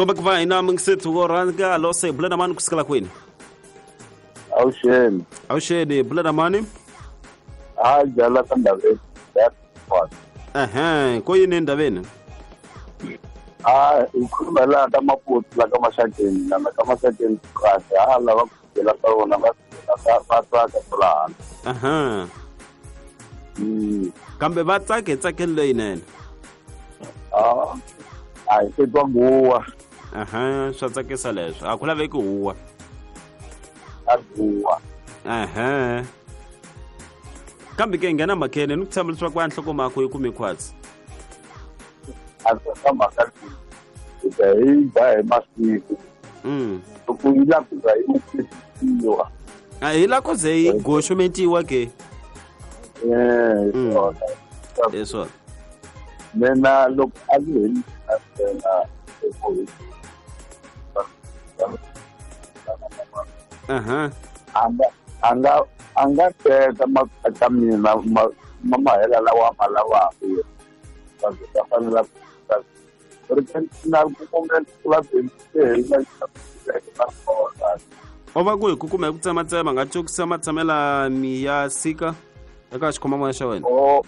Kombe ku va hina mingisethu wo rhanga lose bula na mani kusukela kwini? Awuxeni. Awuxeni, bula na mani? Ha jala ka ndaveni. Ehe, ko yini endaveni? Ha hi khuluma laha ka Maputo la ka Maxakeni lana ka Maxakeni kahle ha lava ku byela ka vona va va tsaka kwala handle. Aha. Kambe va tsake tsakelo leyinene. Ah, a hi se twa guwa. Aha, swa tsakisa leswo. A ku laveki huwa. A guwa. Aha. Kambe ke nghena mhakeni ni ku tshemba leswaku a nhlokomhaka yi kume khwatsi. A swi mhaka leyi. Hi ta hi ba hi masiku. Loko yi la ku za yi tisiwa. A hi la ku ze yi goxometiwa ke. Eh, swona. Hi swona. Mina loko a ndzi hi ntsena Aha. A nga a nga teka ka mina ma mahela lawa ma lavaka va ta fanela ri na ku kumela o va ku hi ku kuma hi ku tsematsema nga cokisa matshamela mi ya sika eka xikhomamoya xa wena. O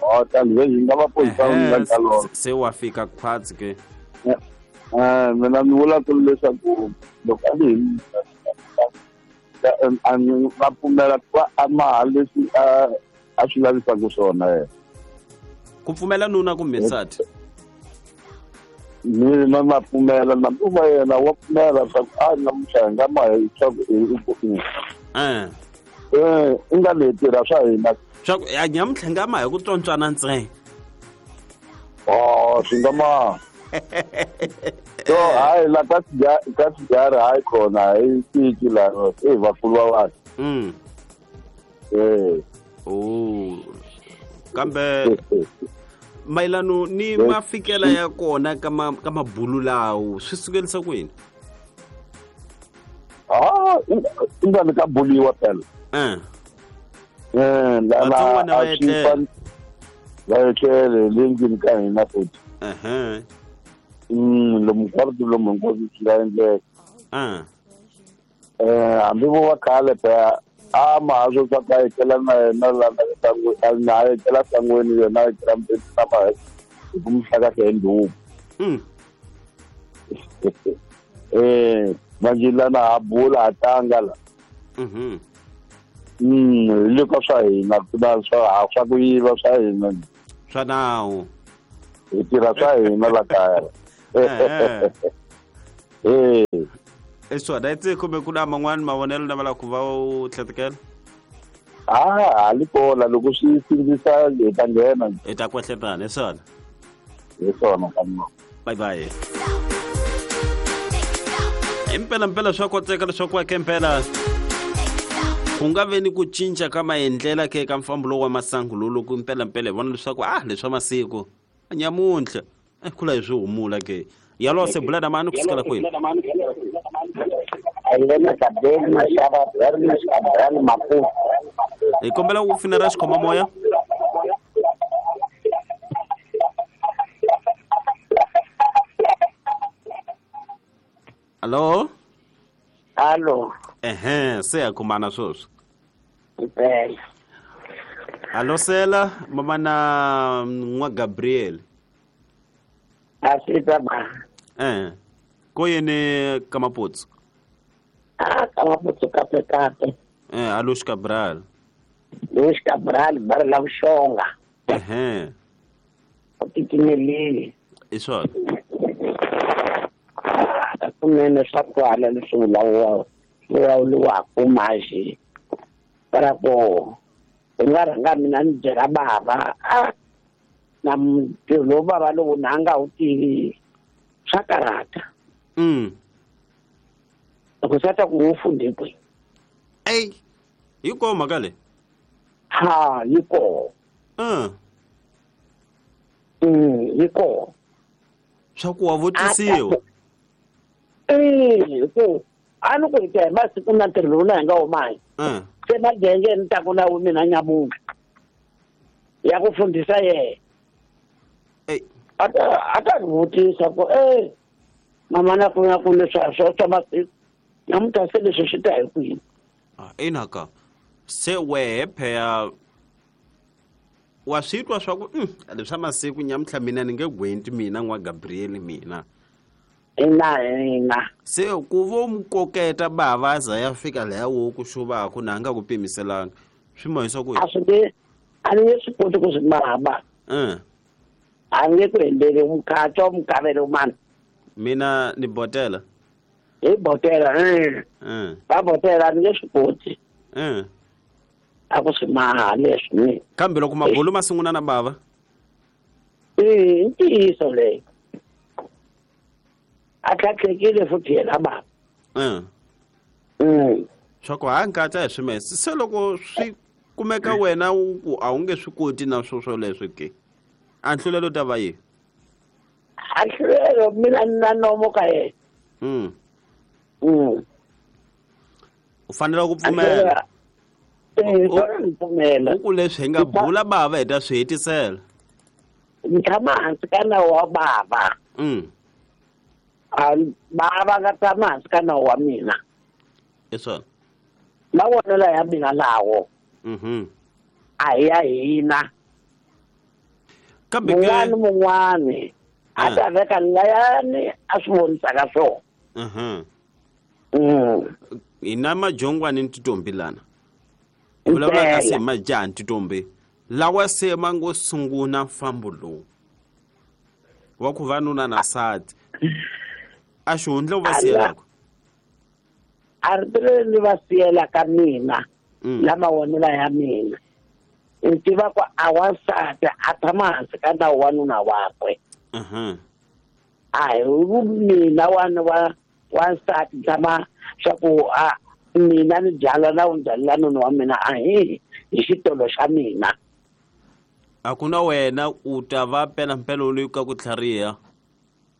o tani hi nga va poyisa nga ka lona. Se wa fika khwatsi ke. Mina ni vula ku leswaku loko a ni a ni va pfumela ku va a maha leswi a swi lavisaka swona yena. Ku pfumela nuna kumbe nsati? Mina na pfumela na va yena wa pfumela swa ku a namuntlha hi nga maha swa ku i nga leyi tirha swa hina. Swa ku a nyamuntlha hi nga maha hi ku tswontswana ntsena. Oh, swi nga maha. So hayi la ka sigari hayi khona hi tiki la i vakulu va vanhu. Oh. Kambe mayelano ni mafikela ya kona ka mabulu lawo swi sukelisa kwini? Ah, i nga ni ka buliwa phela. Vatsongwana va etlela. Va etlele le ndlwini ka hina futhi. Lomu kwarito lomu hinkwaswo swi nga endleka. Hambi vo va khale phela a mahaswo swa ku a etlela na yena la na a etlela sangweni yena a etlela mbeni na maha hi ku mi hlakahla hi ndhuku. Manje lana ha bula ha tlanga la. Hi le ka swa hina ku na swa ku yiva swa hina. Swa nawu. Hi tirha swa hina la kaya. I swona i kumbe ku na man'wani mavonelo na va ku va u tlhetekela? Ha li kola loko swi sindzisa hi ta nghena. Hi ta kwehletana, hi swona. Hi swona ka mina. Bye bye. Impela mpela swa koteka leswaku ake mpela ku nga ve ni ku cinca ka maendlela ke ka mfambo lowu wa masangu lowu loko impela mpela hi vona leswaku a leswa masiku nyamuntlha kula hi swi humula ke. Yalo se bula na mani kusukela kwini? Hi kombela ku finera xikhomamoya. Allo? Allo. Ehe, se ya kumana sweswi. Impela. Allo sela mama na n'wa Gabriel. Asita ba. Ko yini ka Maputsu? Ah, ka Maputsu kape kape. Alush Cabral. Lush Cabral bar la Vuxonga. U titimelile. I swona. Kunene swa kwala leswi vulavuriwaka manje. Para ku hi nga rhanga mina ni byela bava na ntirho lowu bava lowu na nga wu tivi swa karhata. Loko swa ta ku wu fundhe kwihi? Ey, yi kona mhaka leyi? Ha, yi kona. Yi kona. Swa ku wa vutisiwa. Ku a ni ku hi ta hi masiku na ntirho lowu na hi nga wu mahi. Se magenge ni ta ku na mina nyamuntlha ya ku fundhisa yena. A ta ni vutisa ku Mama na ku na ku leswi a swo swa masiku namuntlha se leswi swi ta hi kwini. Ina ka se wehe pheya wa swi twa swa ku leswa masiku nyamuntlha mina ni nge gwenti mina n'wa Gabriel mina. Ina. Se ku vo mu koketa bava za ya fika laha wo ku xuvaku na nga ku pimiselanga swi mahisa ku a swi nge a ni nge swi koti ku swi mahaba. A nge ku endleli mukhato mukavelo mani. Mina ni botela. Hi botela va botela a ni nge swi koti. A ku swi maha leswi ni. Kambe loko mabulu ma sungula na bava. I ntiyiso leyi. A tlhatlhekile futhi yena bava. Swa ku ha nkatsa hi swimese se loko swi kumeka wena ku a wu nge swi koti na swo swoleswo ke. A nhlulelo ta va yini? A nhlulelo mina na nomo ka yena. U fanele ku pfumela. Pfumela. Ku leswi hi nga bula bava hi ta swi hetisela. Ni tshama hansi ka nawu wa bava. Bava nga tshama hansi ka nawu wa mina. I swona. Mavonelo ya mina lawo. A hi ya hina. Kambe mun'wani mun'wani a ta veka layani a swi vonisaka swona. Hina majongwani ni titombi lana. Vulavula ka se majaha ni titombi lawa se ma ngo sungula mfambo lowu wa ku va nuna na nsati a xihundla u va siyelaka. A ri leri ni va siyelaka mina la mavonelo ya mina. Ni tiva ku a wansati a tshama hansi ka nawu wa nuna wakwe. A hi mina wa wansati tshama swa ku a mina ni byala na wu byalela nuna wa mina a hi hi xitolo xa mina. A ku na wena u ta va mpelampela loyi ka ku tlhariha.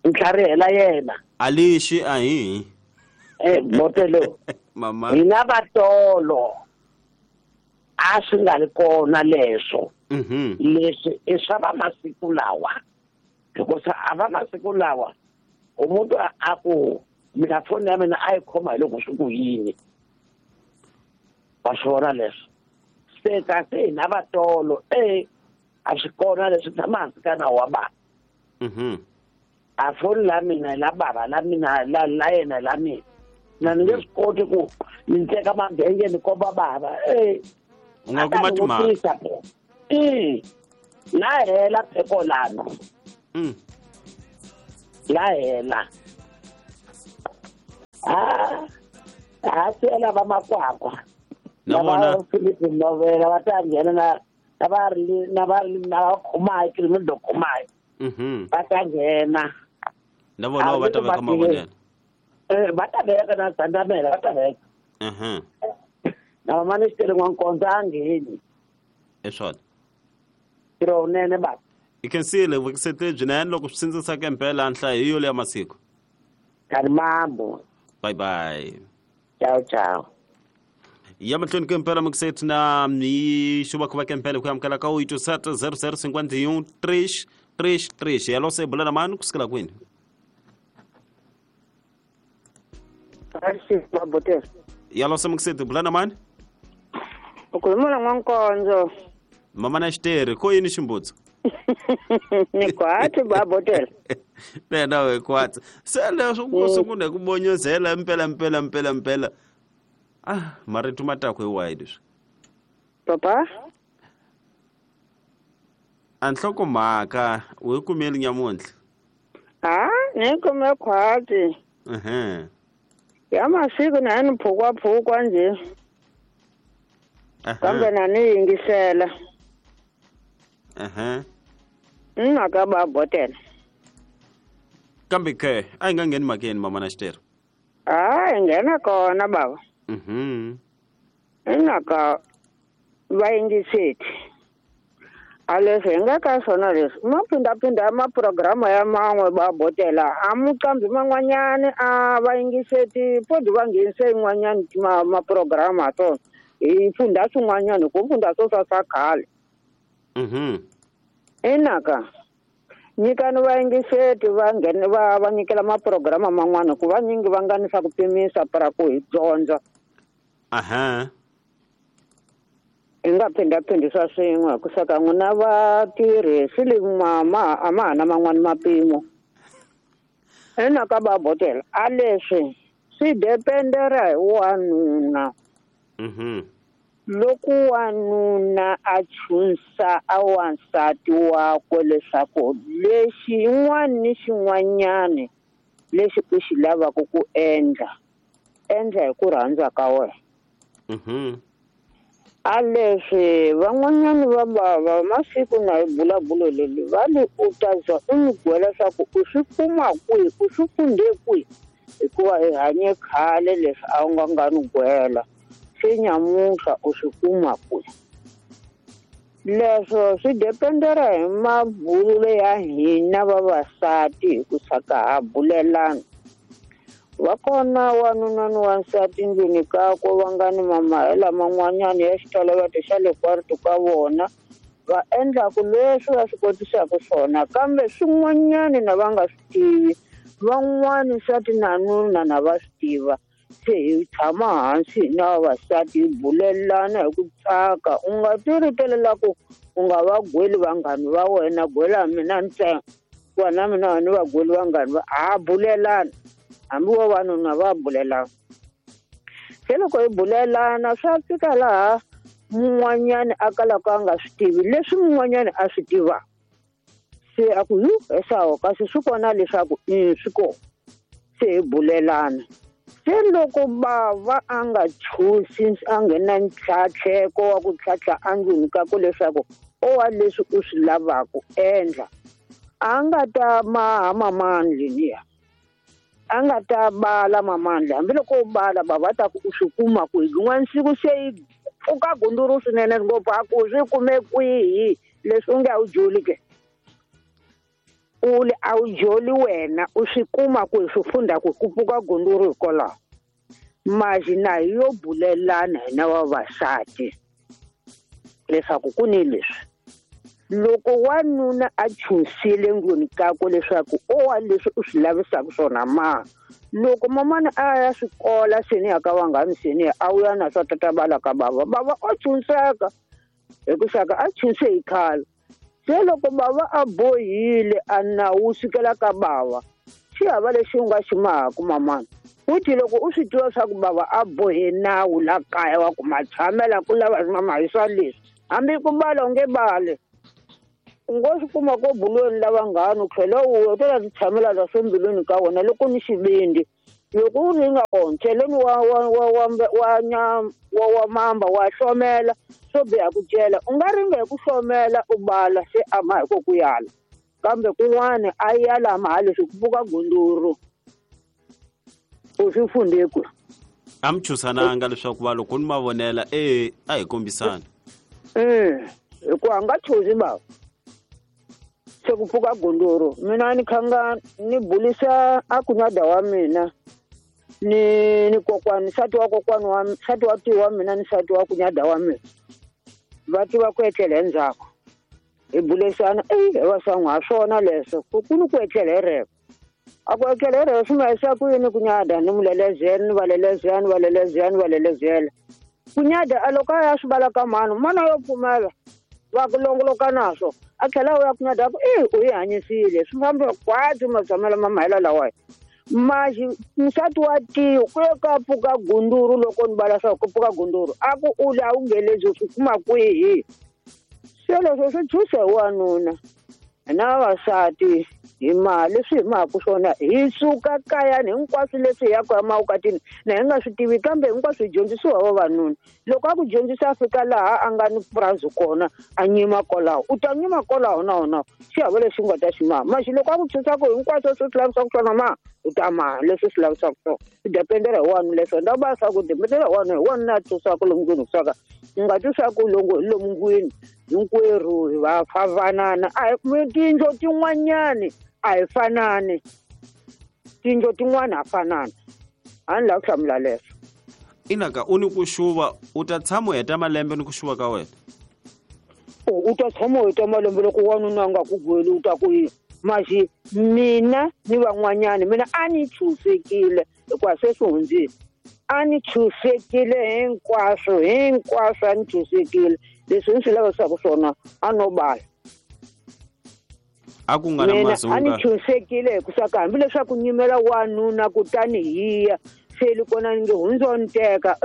Ntlharihela yena. A lexi a hi. Botelo. Mama. Hina vatolo a swi nga ri kona leswo. Leswi i swa va masiku lawa. Hikuva a va masiku lawa umuntu a ku mina foni ya mina a yi khoma hi loko swi ku yini. Va swi vona leswo. Se kasi hina vatolo a swi kona leswi tshama hansi ka nawu wa bava. A foni la mina la bava la mina la yena la mina. Na ni nge swi koti ku ni teka mabenge ni komba bava. U nga kuma timhaka. La hela pheko lano. La hela. A siyela va makwakwa. Na vona Philip Novela va ta nghena na va ri na va ri na khumayi criminal khumayi. Va ta nghena. Na vona va ta veka mavonelo. Va ta veka na Zandamela va ta veka. Na mama ni xitele n'wankondzo a ngheni. I swona. Ntirho wunene baba. I khensile vukisete byinene loko swi sindzisaka impela nhlayo hi yo leya masiku. Kalimambo. Bye bye. Ciao ciao. Ya mahlweni ka impela mukiseti na hi xuvakuva ka impela ku amukela ka 87 00 51 3 3 3. Yalo se bula na mani kusukela kwini? Yalo se mukiseti bula na mani? U khuluma na n'wankondzo. Mama na xitere ko yini ximbutso? Ni kwatsi babotela. Nena we kwatsi. Se leswo ku sungula ku bonyozela mpela mpela mpela mpela. Marito ma ta ku hi wahi leswi? Papa? A nhlokomhaka u yi kumeli nyamuntlha? Ni kume khwatsi. Ya masiku na ni phukwaphukwa nje. Kambe na ni yingisela. Mhaka babotela. Kambe ke a yi nga ngheni mhakeni mama na xitere. Yi nghena kona baba. Mhaka va yingiseti. A leswi hi nga ka swona leswi ma phindaphinda maprograma ya man'we babotela a muqambi man'wanyani a va yingiseti podi va nghenise yin'wanyani maprograma swona hi fundha swin'wanyani ku fundha swo swa swa khale. Inaka Nyikani vayingiseti va nghene va nyikela maprograma man'wana ku vanyingi va nga ni swa ku pimisa para ku hi dyondza. Aha. Hi nga phindhaphindhisa swin'we ku saka n'wina vatirhi swi le mama a ma ha na man'wani mapimo. Ina ka babotela a leswi swi dependera hi wanuna. Loko wanuna a chunsa a wansati wakwe leswaku lexi yin'wana ni xin'wanyani lexi u xi lavaka ku endla, endla hi ku rhandza ka wena. A leswi van'wanyani va bava masiku na hi bulabulo leli va li u ta za u n'wi gwela leswaku u swi kuma kwihi, u swi fundhe kwihi, hikuva hi hanye khale leswi a wu nga ni gwela. Se nyamuhla u swi kuma kwihi. Leswo swi dependera hi mabululo ya hina vavasati hi ku saka ha bulelana. Va kona wanuna ni wansati ndlwini kakwe va nga ni mamahela man'wanyana ya xitoloveto xa le kwarito ka vona, va endlaku leswi va swi kotisaka swona, kambe swin'wanyani na va nga swi tivi, van'wani nsati na nuna na va swi tiva. Se hi tshama hansi hina vavasati hi bulelana hi ku tsaka. U nga ti ritelela ku u nga va gweli vanghani va wena, gwela mina ntsena, wa na mina ni va gweli vanghani va ha bulelana. Hambi vavanuna va bulelana. Se loko hi bulelana swa fika laha mun'wanyani a kalaka a nga swi tivi leswi mun'wanyani a swi tivaka. Se a ku yu esawo kasi swi kona leswaku i swi kona. Se hi bulelana. Se loko bava a nga chusi a nghena ntlhatlheko wa ku tlhatlha endlwini ka ku leswaku o wa leswi u swi lavaka endla, a nga ta maha mamandlini ya. A nga ta bala mamandla, hambiloko u bala bava ta ku u swi kuma kwihi. Rin'wana siku se yi pfuka gunduru swinene ngopfu a ku swi kume kwihi leswi u nge a wu joli ke. U le a wu joli wena u swi kuma kwihi swi funda ku ku pfuka gunduru hikwalaho. Maji na hi yo bulelana hina vavasati leswaku ku ni leswi. Loko wanuna a chunsile ndlwini kakwe leswaku o wa leswi u swi lavisaka swona ma, loko mamana a ya swikola seni ya ka vanghani seni a wu ya na swa tata bala ka bava, bava o chunseka hi ku saka a chunse hi khale. Se loko bava a bohile a nawu sukela ka bava, xi hava lexi u nga xi mahaku mamana. Futhi loko u swi tiva swa ku bava a bohe nawu la kaya wa ku matshamela ku lava mama hi swa leswi, hambi ku bala u nge bali. U ngo swi kuma ko bulweni la vanghani u tlhela u ta ti tshamela la swa mbilwini ka wena loko ni xivindi. Loko u ri nga kona cheleni wa mamba wa hlomela swo biha ku cela, u nga ringa hi ku hlomela u bala se a ma hi ko ku yala, kambe kun'wana a yala ma leswi ku pfuka gunduru u swi fundhe kwihi. A mi chusananga leswaku va loko ni mavonela a hi kombisana. Hikuva a nga chuzi bava. Se ku pfuka gunduru mina ni khanga ni bulisa a kunyada wa mina ni kokwani nsati wa kokwani wa nsati wa tiwa wa mina ni nsati wa kunyada wa mina va tiva ku etlela endzhaku hi bulisana va sangu ha swona leswo ku ni ku etlela hi reko. A ku etlela hi reko swi ma yisa ku yini kunyada ni mulelezela ni valelezela ni valelezela ni valelezela. Kunyada a loko a ya swi vala ka mhani, mhani yo pfumela va ku longoloka naswo a tlhela u ya kunyada ku u yi hanyisile swi famba kwatsi matshamelo ma mahela lawa. Maxi nsati wa tiyo ku ye ka pfuka gunduru loko ni vala swa ku pfuka gunduru a ku u la u ngelezi u swi kuma kwihi. Se leswo swi chusa hi wanuna na vavasati hi mali leswi hi mahaku swona hi suka kayani hinkwaswo leswi hi yaka emavukatini na hi nga swi tivi, kambe hinkwaswo hi dyondzisiwa hi vavanuna. Loko a ku dyondzisa a fika laha a nga ni purazi kona a nyima kwalaho, u ta nyima kwalaho na wona xi hava lexi u nga ta xi maha. Maxi loko a ku dyondzisa ku hinkwaswo swi lavisaka swona ma u ta maha leswi swi lavisaka swona. Swi dependera hi wanuna leswo nda va swa ku dependera hi wanuna, hi wanuna a twisaka lomu ndlwini kusaka u nga twisaka longo hi lomu ndlwini hinkwerhu hi va favanana. A hi tindlo tin'wanyani a hi fanani, tindlo tin'wana ha fanana. A ni lava ku hlamula leswo. Inaka u ni ku xuva u ta tshama u heta malembe ni ku xuva ka wena? U ta tshama u heta malembe loko wanuna a nga ku gweli u ta ku yini? Maxi mina ni van'wanyana mina a ni chusekile hikuva se swi hundzile. A ni chusekile hinkwaswo a ni chusekile leswi ni swi lavisaka swona a no bala. A ku nga na mazunga. A ni chusekile hikuva hambileswaku nyimela wanuna kutani hiya se li kona ni nge hundzo ni teka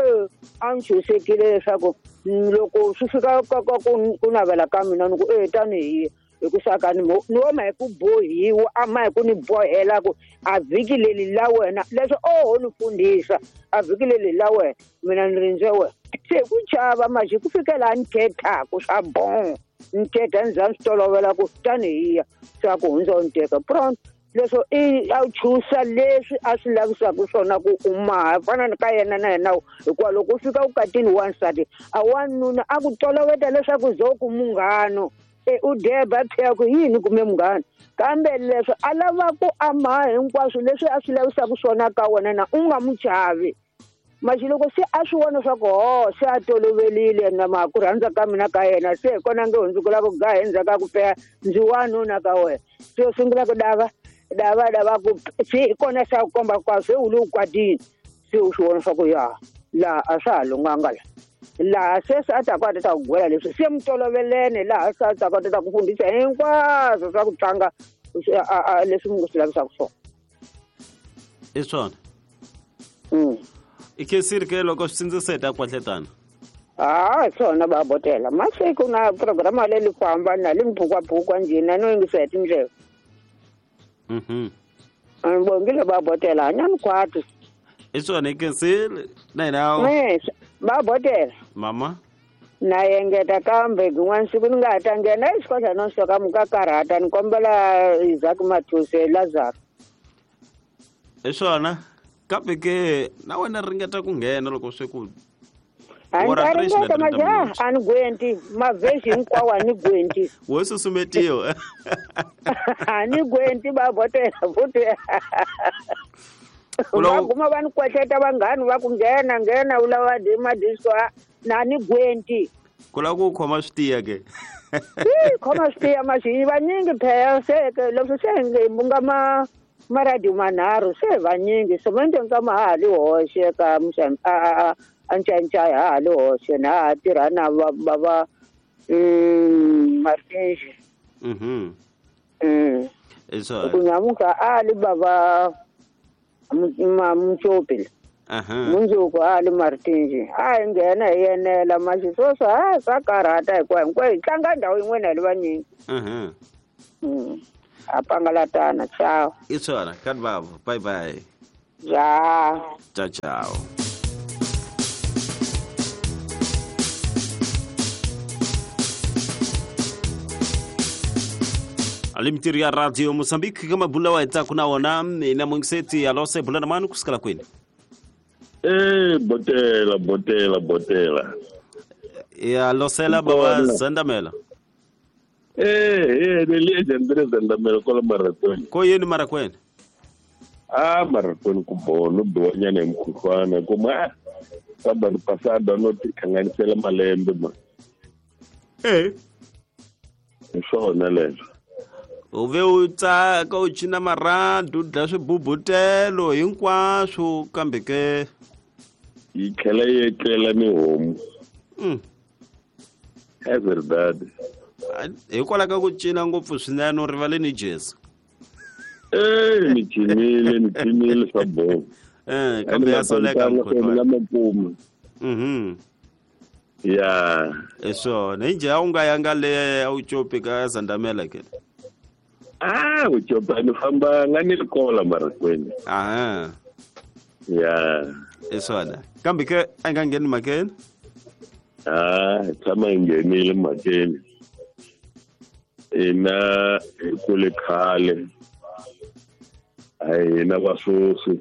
a ni chusekile leswaku loko swi fika ka ku navela ka mina ni ku tani hiya hikuva ni wo ma hi ku bohiwa a ma hi ku ni bohela ku a vhiki leri la wena leswi oho ni fundhisa a vhiki leri la wena mina ni rindze wena se ku chava maxi ku fikela ni thethaku swa bon ni thetha ni za ni swi tolovela ku tani hiya swa ku hundza ni teka pronto leswo i a chusa leswi a swi lavisaka swona ku u maha fana ni ka yena na yena hikuva loko u fika vukatini wansati a wanuna a ku toloveta leswaku zo ku munghano u deba phela ku yini kume munghana kambe leswi a lava ku amaha hinkwaswo leswi a swi lavisaka swona ka wena na u nga mu chavi maxi loko se a swi vona swa ku ho se a tolovelile na ma ku rhandza ka mina ka yena se hi kona nge hundzukela ku gaha endzhaku ka ku peya ndzi wanuna ka wena se u sungula ku dava dava dava ku se hi kona se a ku komba kwa se u le u kwatini se u swi vona swa ku ya laha a swa ha lunghanga la laha se se a ta ku a ta ku gwela leswi se mi tolovelene laha se a ta ku a ta ku fundhisa hinkwaswo swa ku tlanga leswi mi swi lavisaka swona i swona i khensile ke loko swi sindziseta kwahletana a swona va botela masiku na programa leyi famba na li mphukwapfukwa njhina no yingisa hi tindleve bongile va botela hanyani khwati i swona i khensile na hina va botela mama na engeta kambe rin'wana siku ni nga ha ta nghena exikolweni no soka mu ka karhata ni kombela Isaac Mathuse Lazaro i swona kambe ke na wena ringeta ku nghena loko swi ku a ringeta majaha a ni gwenti mavhesi hinkwawo a ni gwenti wo susumetiwa a ni gwenti va botela futhi va guma va ni kwetleta vanghani va ku nghena nghena u lava madisco na ni gwenti ku lava ku khoma swi tiya ke khoma swi tiya maxi vanyingi phela se leswi se nga ma maradio manharhu se vanyingi semende nkama ha ha li hoxe ka a ncancaya ha ha li hoxe na ha tirha na va Martinji ku nyamuka a li bava Mutsopi mundzuku a li Martinji a hi nghena hi yenela maxi sweswo a swa karhata hikuva hinkwayo hi tlanga ndhawu yin'wana hi li vanyingi a pangalatana ciao i swona kani vavo bye bye ja ciao ciao ali mitirho ya Radio Mozambique ka mabula wa hitsaku na wona mina mungiseti alose bula na mani kusukela kwini botela botela botela ya losela baba Zandamela ni le Zandamela kwala Marakweni ko yini Marakweni a Marakweni ku bono biwanyana hi mukhuhlwana kuma famba ni pasada no tihlanganisela malembe ma hi swona leswo u ve u tsaka u cina marhandu u dlaya swibubutelo hinkwaswo kambe ke yi tlhela yi etlela ni homu é verdade hikwalaho ka ku cina ngopfu swinene u rivale ni Jesu ni cinile swa boho kambe ya soleka mukhuhlwana mapuma ya hi swona hi njhe a wu nga yanga le a wu copi ka Zandamela ke u copa ni fambanga ni ri kola Marakweni ya hi swona kambe ke a nga ngheni mhakeni hi tshama hi nghenile mhakeni hina hi kule khale a hina vasweswi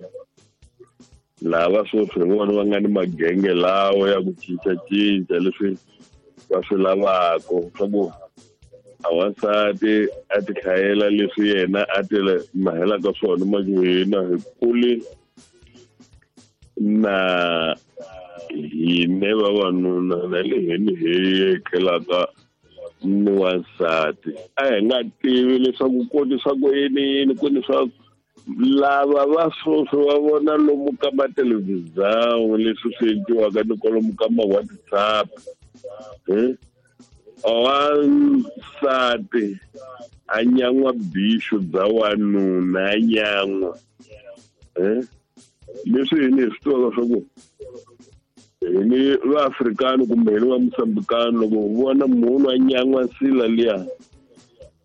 lava sweswi hi vona va nga ni magenge lawa ya ku cincacinca leswi va swi lavaka swa ku a wansati a ti hlayela leswi yena a ti mahelaka swona manje hina hi kule na hine vavanuna na le heni hi etlelaka ni wansati. A hi nga tivi leswaku ku ni swa ku yini yini, ku ni swa lava va sweswi va vona lomu ka mathelevhizani leswi swi endliwaka ni kwalomu ka ma-WhatsApp. Wansati a nyan'wa bixu bya wanuna, a nyan'wa. Leswi hini hi swi tivaka swa ku hini vaAfrikani kumbe hini va Mosambikani, loko hi vona munhu a nyan'wa nsila liya,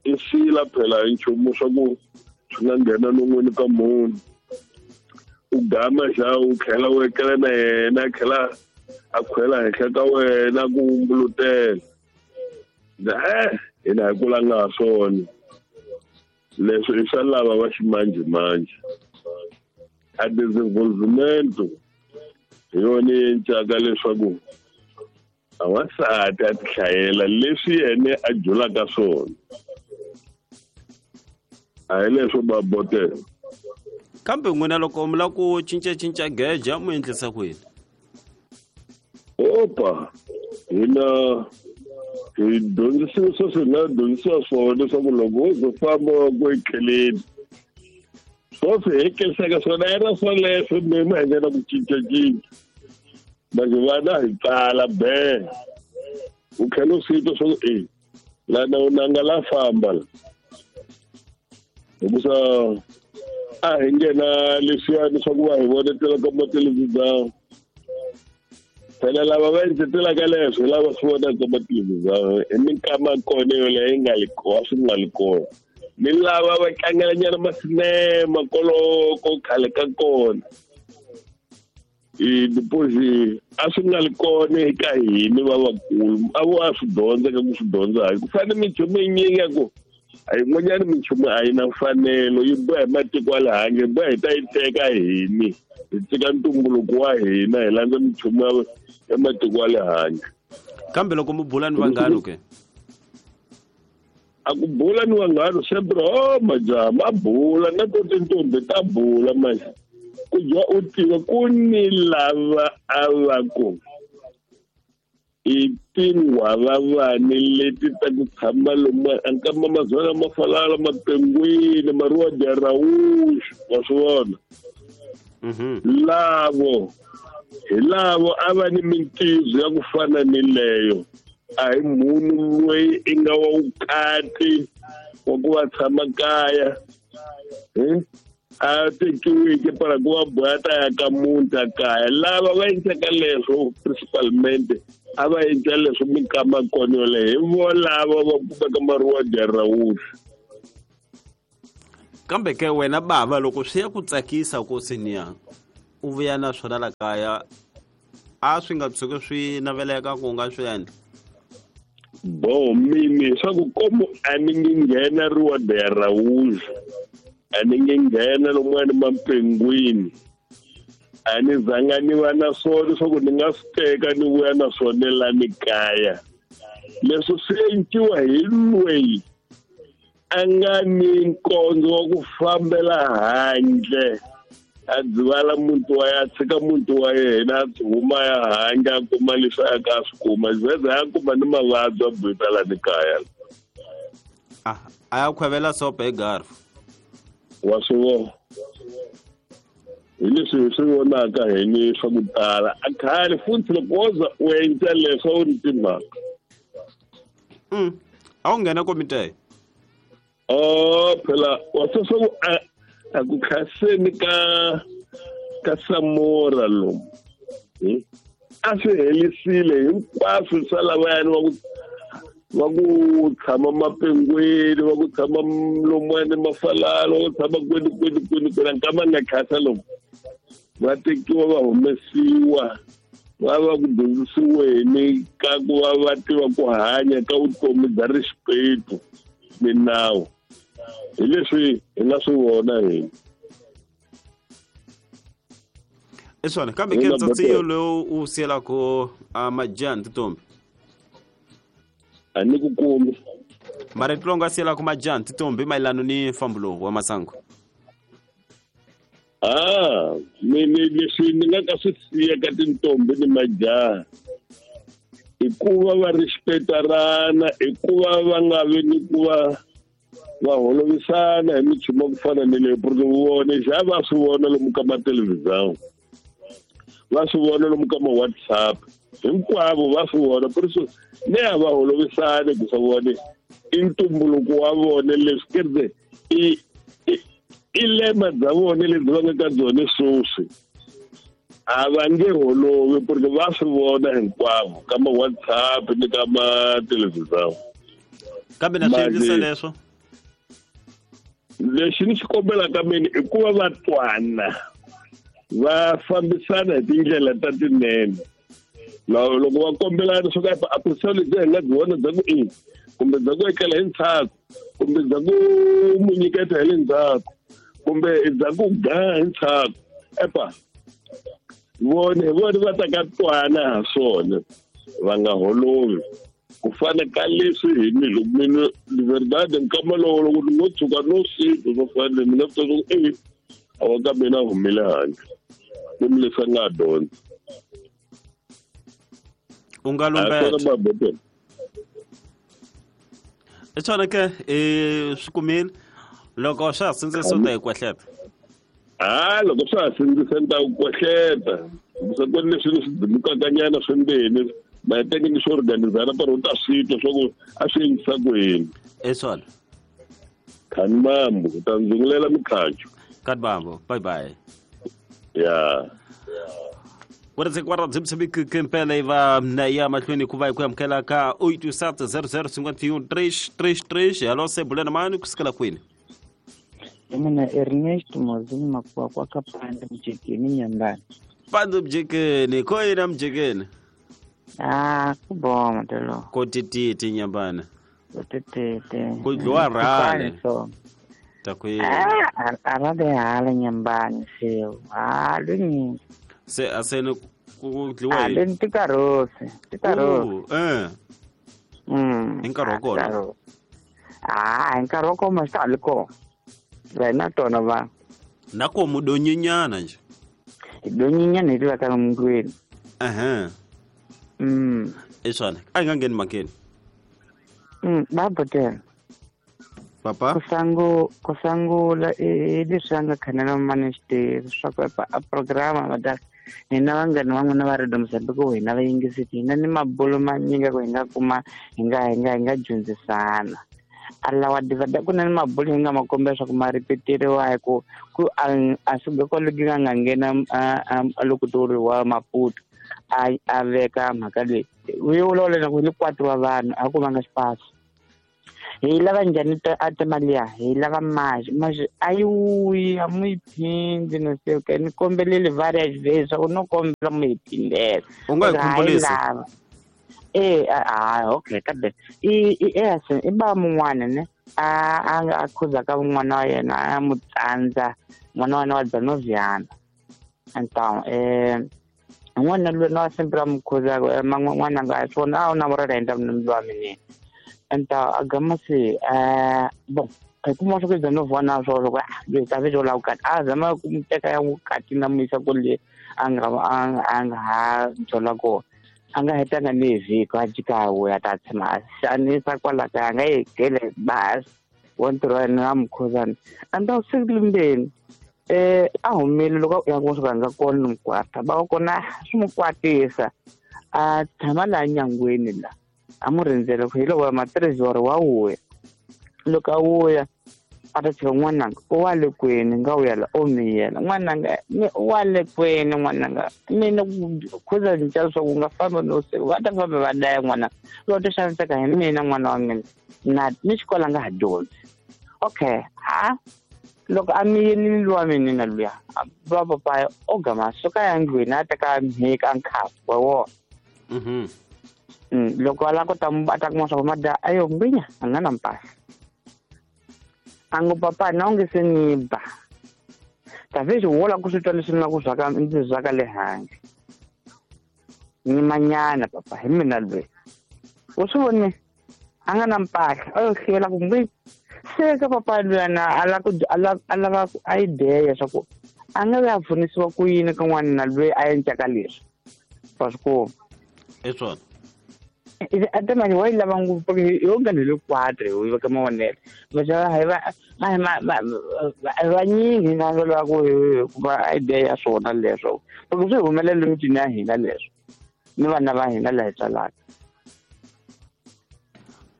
i sila phela hi nchumu swa ku swi nga nghena non'wini ka munhu. U gama xa u tlhela u etlela na yena, a tlhela a khwela henhla ka wena ku vumbulutela. Hina hi kulanga ha swona leswi, i swa lava va ximanjhemanjhe. A desenvolvimento hi yona yi encaka leswaku a wansati a tihlayela leswi yena a julaka swona, a hi leswo ba botela. Kambe n'wina loko mi lava ku cincacinca geja mu endlisa ku yini? Opa, hina hi dyondzisiwe sweswi, hi nga dyondzisiwa swona leswaku loko wo ze famba ku etleleni swoswi hi kelisaka swona a yi ra swoleswo, mi ma hi nghena ku cincacinca manje vana hi tsala be u tlhela u swi twa swa ku e lana u nanga la famba la, hikusa a hi nghena leswiyani swa ku va hi vonetela ka mathelevhizani. Phela lava va endletelaka leswo hi lava swi vonaka mathelevhizani hi minkama kona yoleyo yi nga li kona, swi nga li kona. Ni lava va tlangelanyana masinema koloko khale ka kona. Depois a swi nga li kona eka hina lavakulu, a vo a swi dyondza ka ku swi dyondza hayi ku fana minchumu yinyingi ya ku a yin'wanyana minchumu a yi na mfanelo, yi boha hi matiko ya le handle, yi boha hi ta yi teka hini, hi tshika ntumbuluko wa hina hi landza minchumu ya matiko ya le handle. Kambe loko mi bula ni vanghano ke? A ku bula ni vanghano sempre, o majaha ma bula na to tintombi ta bula manje. Ku dya u tiva ku ni lava a va ku i tinghwavavani leti ta ku tshama lomu ankama mazwana ma falala mapengwini maruwa dya rawuxi, wa swi vona. Lavo hi lavo a va ni mintizo ya ku fana ni leyo. A hi munhu loyi i nga wa vukati wa ku va tshama kaya, a tekiwike para ku va boha ta ya ka muti a kaya. Lava va endlaka leswo principalmente a va endla leswo minkama kona yoleyo, hi volavo va kumeka maruwa dya rawuxi. Kambe ke wena bava, loko swi ya ku tsakisa ku senior u vuya na swona la kaya, a swi nga tshuki swi naveleka ku nga swi endla? Bo mini swa ku komu a ni nge nghena ruwa dya rawuxi, a ni nge nghena lomuwani mapengwini, a ni zanga ni va na swona leswaku ni nga swi teka ni vuya na swona la ni kaya. Leswi swi endliwa hi loyi a nga ni nkondzo wa ku fambela handle, a dzivala muti wa yena, a tshika muti wa yena, a huma ya handle a kuma leswi a ka a swi kuma, zeze a kuma ni mavabyi a buyita la ni kaya. A ya khwevela sopa hi garfu. Wa swi vona hi leswi hi swi vonaka hi ni swa ku tala. A khale futhi loko wo za u endla leswo u ni timhaka. A wu nghena komite? Oh, phela wa swi swa ku a ku khaseni ka Samora lomu. A swi helisile hinkwaswo swa lavayani va ku tshama mapengwini, va ku tshama lomuwani mafalala, va ku tshama kwini kwini kwini kwini. Nkama nga khasa lomu va tekiwa va humesiwa, va va ku dyondzisiweni ka ku va va tiva ku hanya ka vutomi bya rixipetu milawu. Hi leswi hi nga swi vona hina. I swona. Kambe ke ntsatsi lowu u siyelaka majaha tintombi? A ni ku kumi. Marito lowu nga siyelaka majaha tintombi mayelana ni mfambo lowu wa masangu? Ni leswi ni nga ka swi siya ka tintombi ni majaha, I ku va va respectarana, i ku va va nga vi ni ku va va holovisana hi minchumu ya ku fana ni leyi, porque vona xa va swi vona lomu ka mathelevhizani, va swi vona lomu ka ma-WhatsApp, hinkwavo va swi vona. Por isso ne a va holovisani ku swa vona i ntumbuluko wa vona leswi kereke i lema bya vona lebyi va nga ka byona sweswi. A va nge holovi porque va swi vona hinkwavo ka ma-WhatsApp ni ka mathelevhizani. Kambe na swi endlisa leswo? Lexi ni xi kombelaka mina i ku va va twana, va fambisana hi tindlela ta tinene. Loko va kombelana swo ka a ku sali byi hi nga byi vona bya ku i kumbe bya ku etlela hi ndzhaku, kumbe bya ku mu nyiketa hi le ndzhaku, kumbe bya ku ga hi ndzhaku, epa vone hi vona va ta ka twana ha swona, va nga holovi. Ku fana ka leswi hi ni loko mina de verdade nkama lowo loko ni ngo tshuka no swi swo fana ni nga swi ku e a wa ka mina humile handle ni mi leswi a nga dyondza. U nga lumbeta. I swona ke swi kumile loko swa ha sindzisa u ta hi kwehleta. Ha loko swa ha sindzisa ni ta ku kwehleta, se ku leswi ni swi dzimukakanyana swimbeni maheteke ni swi organizana para u ta swi twa swa ku a swi endlisa ku yini. I swona. Khani mambo u ta ndzungulela mikhacho. Khani mambo, bye bye. Ya. Kwara dzimsibiki iva na ya mahlweni ku va hi ku amukela ka 8700 51 333. Hello, sebulena mani kusukela kwini? Mina Ernest Mozini Makuwa kwa Kapande Mjekeni Nyambani. Pande Mjekeni, koyina Mjekeni? Ah, kuboma telo. Kotititi Nyambani. Kotititi. Kudliwa rale. Takwini. Ah, arale hala Nyambani seo. Ah, lini. Se asene kudliwa yini? Ah, tikarosi, tikarosi. Eh. Hi nkarhi wa kona. Ah, hi nkarhi wa kona swi ta kona. Wena tona va. Na ko mudonyinyana nje. Donyinyana hi tiva ka mundlwini. Ehe. I swona. A hi nga ngheni makeni. Babotela. Papa? Ku sangula i leswi a nga khanela mani xitivi swa ku a programa va ta hina vanghani van'wana va Radio Mozambique ku hina va yingiseti hina ni mabulo manyingi ku hi nga kuma hi nga dyondzisana. Alawa divada ku na ni mabulo hi nga ma kombela leswaku ma ripeteriwa hi ku a swi kwaloku nga nga nghena a loko toriwa Maputo a veka mhaka leyi u vulavula na ku hi kwati wa vanhu a ku vanga xipasi. Hi lava njhani a timali ya hi lava maji a yi wuyi a mu yi phindi no se ke ni kombelele various ways swa ku no kombela mu yi phindela. U nga hi khumbulisa. Okay kambe i ba mun'wana ne a khuzaka n'wana wa yena a mu tsandza n'wana wa yena wa Dzanoviana. Então n'wana loyi na sempre a mu khuzaka n'wana nga swona a wu na vurela endla munhu wa mina. Então a gama se bom hi kuma swa ku Dzanoviana swo loko loyi ta vito la vukati a zama ku mu teka ya vukati na mu yisa kule a nga ha byela kona. A nga hetanga ni vhiki a jika a vuya ta tshama a xanisa kwala kaya a nga yi gele basi wa ntirho wa yena a mukhuzana. And siku limbeni a humile loko ya ku swi nga kona ni mukwata va kona swi mu kwatisa a tshama laha nyangweni la a mu rindzele ku hi loko matirhisi wa vuya. Loko a vuya a ta tshika n'wananga u wa le kwini nga vuya la o miyela n'wananga u wa le kwini n'wananga mina khuza cinca leswaku u nga fambi no siku va ta famba va daya n'wananga loko ti xaniseka hi mina n'wana wa mina na ni xikolo a nga ha dyondzi. Okay ha loko a miyelile luwa mina na luya va papaya o gama suka ya ndlwini a teka mhika a nkhafu wa wona. Loko a lava ku ta a ta kuma swa ku mada ayo ngwinya a nga na mpahla. A ngo papa na onge se ni ba talvez wo la ku swi twa leswi ni nga ku zwaka ndzi zwaka le handle ni manyana papa hi mina loyi u swi vone a nga na mpahla a yo hlwela ku ngwi se ka papa luyana a lava ku a lava a ideya swa ku a nga ya pfunisiwa ku yini ka n'wana loyi a endlaka leswi wa swi kuma. I swona. Ate manje wa yi lava ngopfu yo nga ni le quatre u veka mavonelo vanyingi nga lava ku kuma idea ya swona leswo loko swi humelela emitini ya hina leswo ni vana va hina laha hi tswalaka.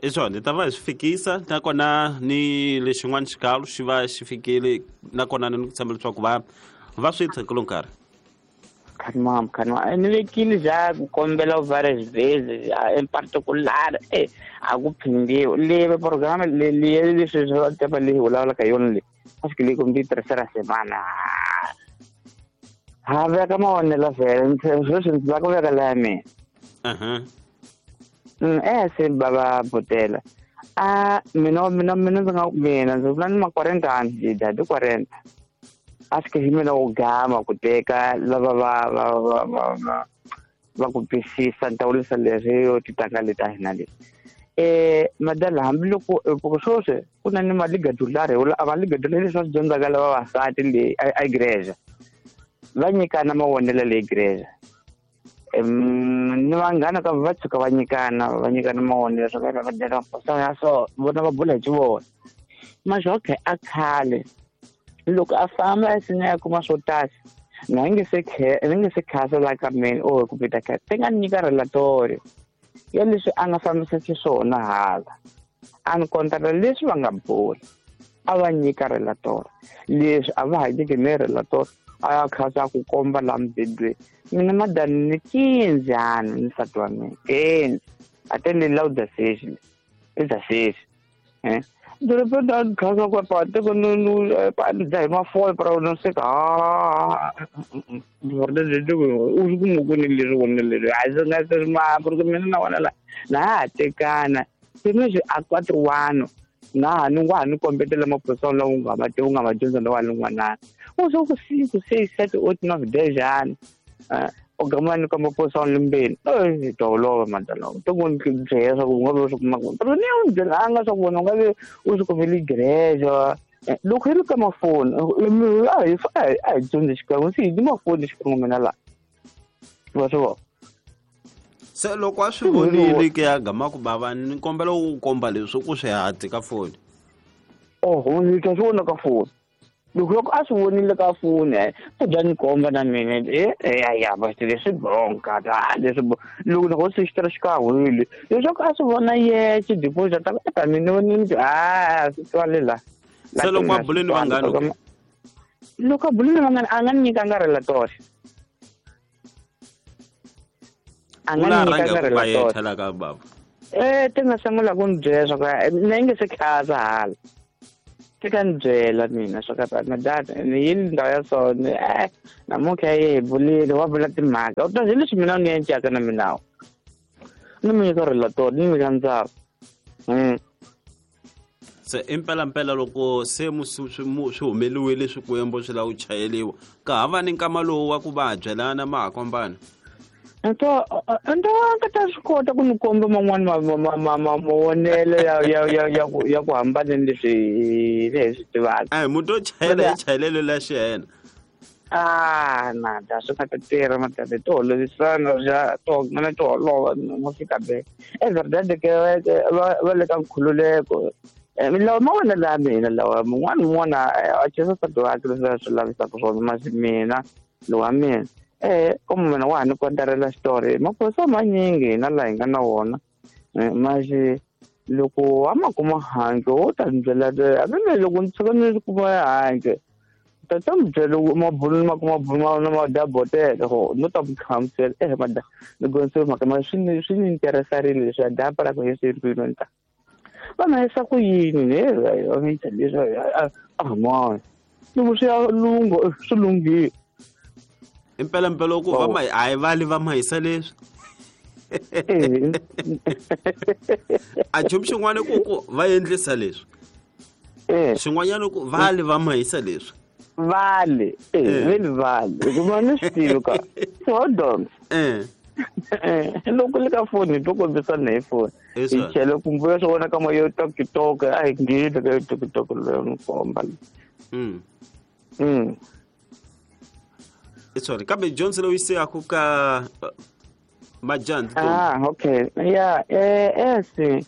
I swona hi ta va hi swi fikisa nakona ni lexin'wana xikalo xi va xi fikile nakona ni ku tshemba leswaku va va swi tshekelo nkarhi. Khanimam khanimam ni vekile ja ku kombela u vares in particular a ku phindiwi le programa le leswi swa tepa leyi vulavulaka hi yona leyi a swi le kumbe yi tirhisela semana ha veka mavonelo vhele sweswi ndzi lava ku veka laya mina. Se baba botela a mina mina mina ndzi nga mina ndzi vula ni ma 40 ani dadi 40 a swi hi mina wo gama ku teka lava va va va va va ku twisisa ni ta vurisa leswi yo titanga leti a hina leti madala hambiloko sweswi ku na ni maligadulari a maligadulari leswi va swi dyondzaka lava vavasati leyi a igreja va nyikana mavonelo leyi igreja ni vanghana ka va tshuka va nyikana mavonelo swa va va va ya so vona va bula hi xivona masho okay a khale loko a famba a sina ya kuma swo tasa na nge se ni nge se khasa la ka mina o ku pita ka te nga nyika relatory ya leswi a nga fambisa xiswona hala a ni kontara leswi va nga bula a va nyika relatory leswi a va ha nyiki ni relatory a ya khasa ku komba la mubedweni mina madani ni 15 ani ni nsati wa mina 15 a te le lauda sexi i za sexi dorobeni a khasa ku pa teko no pa dza hi mafole para no seka u swi kuma ku ni leswi vona leswi a swi nga se ma ku mina na wona la na ha tekana se meswi a 41 na ha ni wa ha ni kombetela maphorisa lawa u nga ma tivi u nga ma dyondza na wa le n'wanana u swo ku 5 6 7 8 9 10 jani o gama ni komba maphorisa lembeni hi ta holova madala to ku ni byela swa ku u nga vi u swi kuma kona pero ni u byela a nga swa ku vona u nga vi u swi kumele igreja loko hi ri ka mafoni a hi a hi dyondzi xikan'we se hi ni mafoni xikan'we mina laha wa swi vona. Se loko a swi vonile ke ya gama ku bava ni kombela u komba leswi ku swi hati ka foni. Oho ni ta swi vona ka foni loko a swi vonile ka foni u bya ni komba na mina ya va leswi bonka leswi loko ni ho se xi tirha xikan'we leswaku a swi vona yexe deposit ta ta mina ni a swi twale la. Se loko a bule ni vanghana loko a bule ni vanghana a nga ni nyikanga relatory a nga ni nyikanga relatory ka baba ti nga sungula ku ni byela swa ku na yi nge se khasa hala ti ka ni byela mina swa ka madada ni yini ndhawu ya so ni namuntlha yi hi bulile wa vula timhaka u ta hi leswi mina ni encaka na minawu ni mi nyika relatory ni nyika ndzava. Se impela loko se swi humeliwile swikwembu swi lava ku chayeliwa ka ha va ni nkama lowu wa ku va byelana ma ha kombana nto nga ta swi kota ku ni komba man'wani mavonelo ya ku hambana ni leswi hi swi tivaka. Munhu o chayela hi chayelelo la xiyena nada swi nga ta tirha madada to holovisana ja to mina to holova no fika be é verdade que va le ka nkhululeko lawa mavonelo ya mina lawa mun'wana un'wana a chesa nsati wakhe leswi a swi lavisaka swona masi mina lowa mina como mina wa ha ni kontarela xitori maphorisa manyingi hina laha hi nga na wona masi loko a ma kuma handle wo ta ni byela hambi loko ni tshuka ni kuma handle ta mi byela mabulu ma kuma bulu na ma dabotela ho no ta mi hlamusela mada ni gonise mhaka ma swi ni interesarile leswi a dapa ra ku hi swi ri ta va na yisa ku yini ne va mi leswi a mani loko swi ya lungha swi lunghile impela ku va ma a hi vali va ma hisa leswi a nchumu xin'wana ku va endlisa leswi xin'wanyana ku vali va ma hisa leswi vale veli vale hikuva ni swi tivi ka hold on loko le ka foni hi to kombisana hi foni hi chele kumbe swi vona ka ma yo TikTok a hi ngheni ka yo TikTok leyo ni komba. Sorry kambe Johnson loyi se aku ka Majandi. Ah, okay. Yeah, esse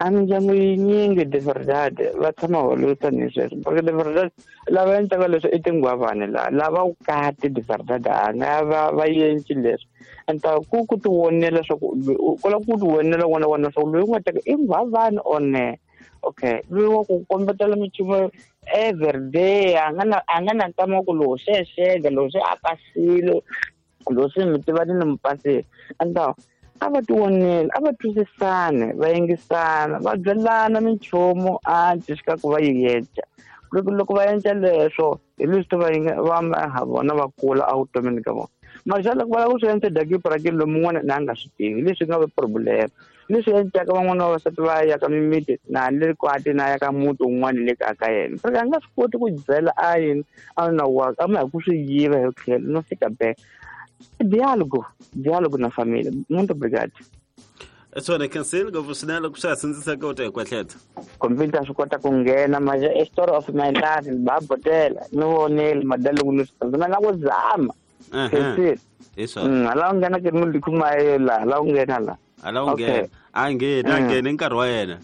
a mindyangu yinyingi de verdade va tshama va ni sweswo porque de verdade lava endlaka leswi i tinghwavani la lava vukati de verdade a nga va endli leswi enta ku ti vonela swa ku kola ku ti vonela wona wona swa ku loyi u nga teka i nghwavani or ne okay loyi wa ku kombetela minchumu every day a nga na nkama ku lowu se xega lowu se a pasile lowu se mi tiva ni mi pasile enta a va ti vonela a va twisisane va yingisana va byelana minchumu a cisika ku va yi endla loko va endla leswo hi leswi va ha vona va kula evutomini ka vona mara xa loko va lava ku swi endla daki lomu un'wana na a nga swi tivi leswi nga va problem leswi endlaka van'wana va vavasati va ya ka mimiti na le kwati na ya ka muti wun'wana le kaya ka yena porque a nga swi koti ku byela a yini a na wa a ma hi ku swi yiva hi tlhelo no fika back diálogo na família. Muito obrigado. Swona cancel ngopfu swinene loko swa ha sindzisaka u ta hi kwehletha computer swi kota ku nghena manje a story of my life va botela ni vonile madalo ni swi na ku zama hi swona hala u nghena ke ni kuma la hala u nghena la hala u nghena a nghena nghena nkarhi wa yena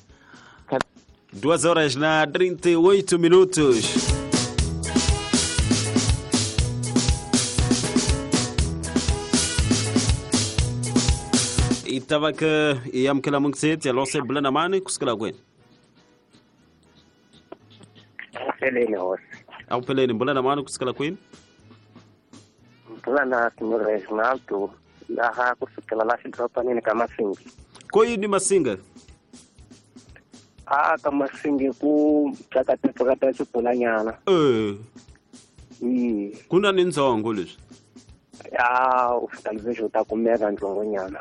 2:38 Itava ke yamkela mungset ya lose bulana mani kusukela kwini Peleni hosi Awupheleni bulana mani kusukela kwini Bulana Reginaldo laha kusukela la xidorobanini ka Masingi Ko yini Masinga A ka Masingi ku tsakatepfukata xibulanyana Ku na ni ndzongo leswi Ya u fika leswi u ta kumeka ndzongonyana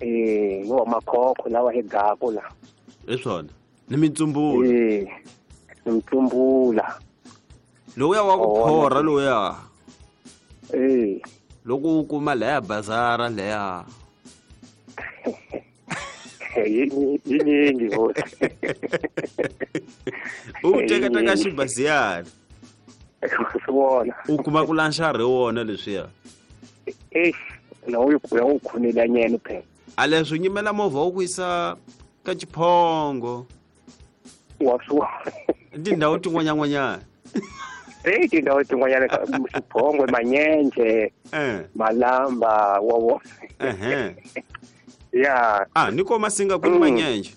ni wa makhokho lawa hi gaku la hi swona ni mitsumbula ni mitsumbula lowuya wa ku phorha lowuya loko u kuma leya bazara leya yinyingi hosi u tekateka xibaziyana swona u kuma ku lanxa ri wona leswiya na u ya u khonela nyene phela a leswi nyimela movha wu ku yisa ka Xiphongo wa swona tindhawu tin'wanyan'wanyana tindhawu tin'wanyana Xiphongo Manyenje Malamba wa vona ya ni ko Masinga ku ni Manyenje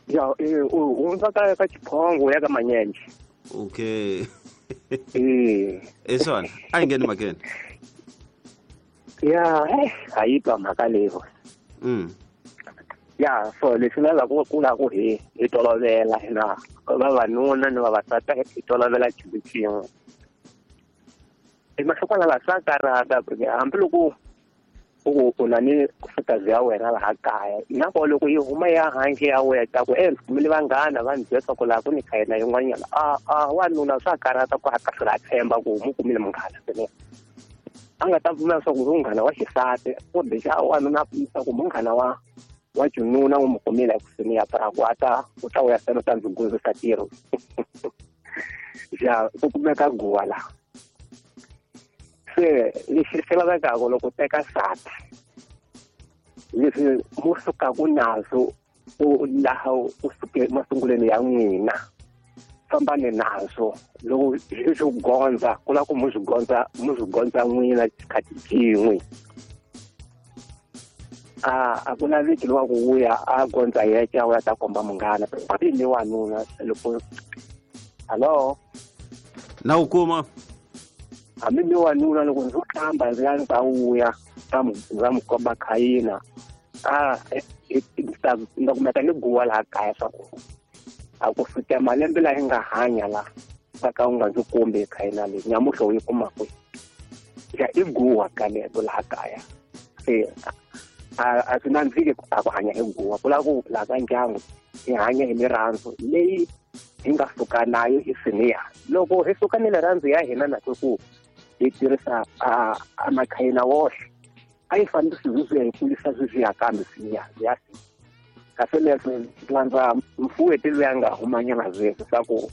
ya u hundza ka Xiphongo ya ka Manyenje Okay. Esona, a ngheni makene. Ya, a yi twa mhaka leyi. Ya, so leswi lava ku la ku hi tolovela hina vavanuna ni vavasati hi tolovela xilo xin'we. Emahlokwana la swa karhata hambiloko u na ni nkosikazi ya wena laha kaya na ko loko yi huma ya handle ya wena ta ku ndzi kumile vanghana va ndzi byela ku laha ku ni khayina yin'wanyana a wanuna swa karhata ku a hlula a tshemba ku mu kumile munghana swinene a nga ta pfumela swa ku munghana wa xisati kumbe xa wanuna a pfumisa ku munghana wa xinuna u mu kumile ekusuhi ya ku a ta u ta vuya sena u ta ndzi gundzisa ntirho ya ku kumeka guwa laha se lexi xi lavekaka loko teka nsati leswi mu sukaka nazo u laha u suke masungulweni ya n'wina fambani nazo loko swi gondza ku lava ku mu swi gondza n'wina xikhathi xin'we a ku laveki lowa ku vuya a gondza yexe a vuya ta komba munghana ni wanuna loko hallo na u kuma hambi ni wanuna loko ndzi hlamba ndzi ya ta vuya ndza mu komba khayina a ndza kumeka ni guwa laha kaya swa ku a ku fika malembe laha yi nga hanya la va ka u nga ndzi kombi khayina leyi nyamuhla u yi kuma kwihi ya i guwa kaleto laha kaya se a swi nandziki a ku hanya hi guwa ku lava ku laha ka ndyangu hi hanya hi mirirhandzu leyi hi nga suka nayo hi siniya loko hi suka ni rirhandzu ya hina na ku hi tirhisa a makhayina woxe a yi fanele swi hi kulisa swi ya kambe siniya ya kasi leswi landza mfuweti loyi a nga humanyana sweswi swa ku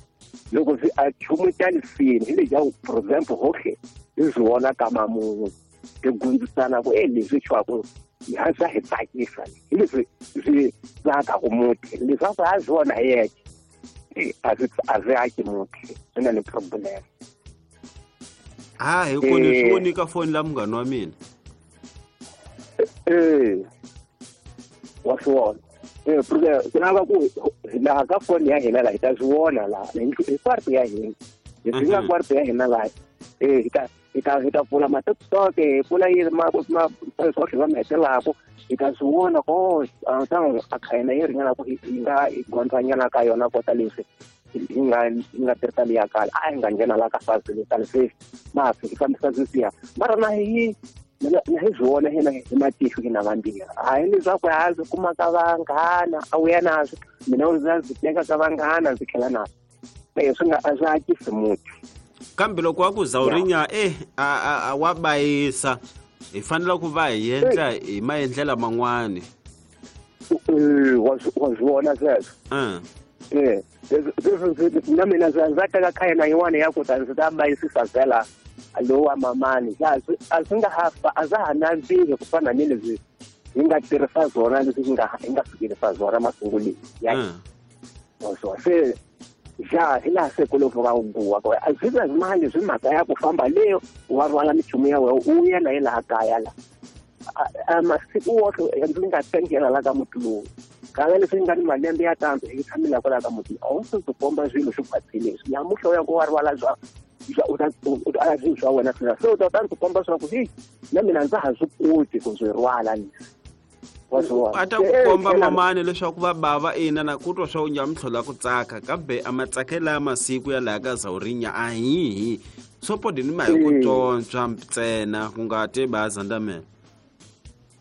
loko swi a chumu xa lisini hi lexa for example hohle hi swi vona ka mamun'we hi gundzisana ku leswi xwaku ya swa hi tsakisa hi leswi swi tsakaku muti leswaku a swona hi yexe a swi aki muti swi na ni problem. Ha hi ku ni swi voni ka foni la munghana wa mina. Wa swi vona porque ku lava ku laha ka foni ya hina laha hi ta swi vona laha hi kwarto ya hina hi swi nga kwarto ya hina laha hi ta pfula ma-TikTok hi pfula yini sweswo va mi hetelaka hi ta swi vona ko a khayina yi ringana ku hi nga hi gondzanyana ka yona kota leswi hi nga tirhisa liya kale a hi nga nghena laha ka fazi sweswi ma hi fambisa sweswiya mara na hi na hi swi vona hina hi matihlo hina vambirhi hayi leswaku ha swi kuma ka vanghana a wu ya naswo mina ndzi ndzi teka ka vanghana ndzi tlhela naswo swi nga a swi akisi muti. Kambe loko wa ku Zawurinya a wa bayisa hi fanele ku va hi endla hi maendlela man'wani. Wa swi vona sweswo. Na mina ndza teka khayena yin'wana ya ku ta ndzi ta bayisisa vhela lowa mamani a swi nga ha a swa ha nandziki ku fana ni leswi hi nga tirhisa swona leswi hi nga fikelisa swona masunguleni ya se ja hi laha se ku loko ka guwa a swi nga mali swi mhaka ya ku famba leyo wa rhwala minchumu ya wena u ya na hi laha kaya la a masiku woxe ndzi nga tengela la ka muti lowu kala leswi nga ni malembe ya tanto hi tshamela kwala ka muti a wu swi ndzi komba swilo swi khwatsile leswi namuntlha u ya ku wa rhwala swa u ta swilo swa wena swina se u ta ndzi komba swa ku hi na mina ndza ha swi koti ku swi rhwala leswi. A ta ku komba mamani leswaku va bava ina na ku twa swa u nyamutlhola ku tsaka kambe a matsakela ya masiku ya laha ka Zawurinya a hihi sopodi ni ma hi ku tsontswa ntsena ku nga te ba zandamela.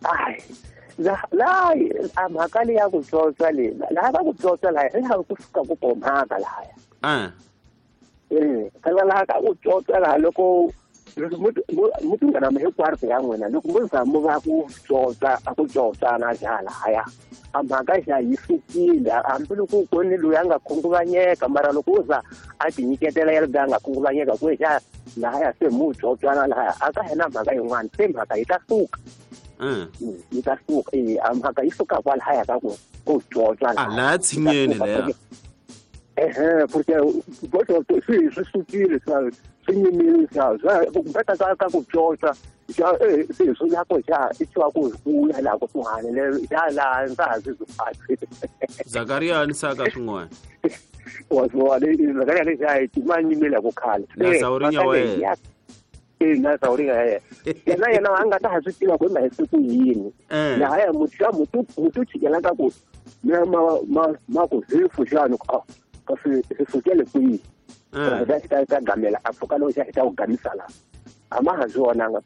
Hayi laha a mhaka leyi ya ku tsontswa leyi laha va ku tsontswa laha hi laha ku suka ku ko mhaka lahaya. Phela laha ka ku tsontswa laha loko muti nga na hinkwaro ya n'wina loko mo za mo va ku tsotsa a ku tsotsana xa lahaya a mhaka xa yi sukile hambi loko ku ni loyi a nga khunguvanyeka mara loko u za a tinyiketela ya loyi a nga khunguvanyeka ku xa lahaya se mu tsotswana lahaya a ka hina mhaka yin'wana se mhaka yi ta suka yi ta suka a mhaka yi suka kwalahaya ka ku tsotsa laha tshinyeni leya. Porque swi sukile swi nyimile swa ka ka ku tsotsa xa se swi ya ku xa i twa ku ku ya la ku kusuhani le ya la ndza ha swi phatsi. Zakaria ni saka swin'wana. Wa swa le Zakaria le xa ti manyimela ku khala. Na Zawurinya wa yena. Na Zawurinya ya yena yena a nga ta ha swi tiva ku ma hi siku yini. Laha ya muti muti chikela ka ku mina ma ku hefu xana kasi hi sukele kwihi ta gamela a pfuka loko xa hi ta ku gamisa laha a ma ha swi vonanga.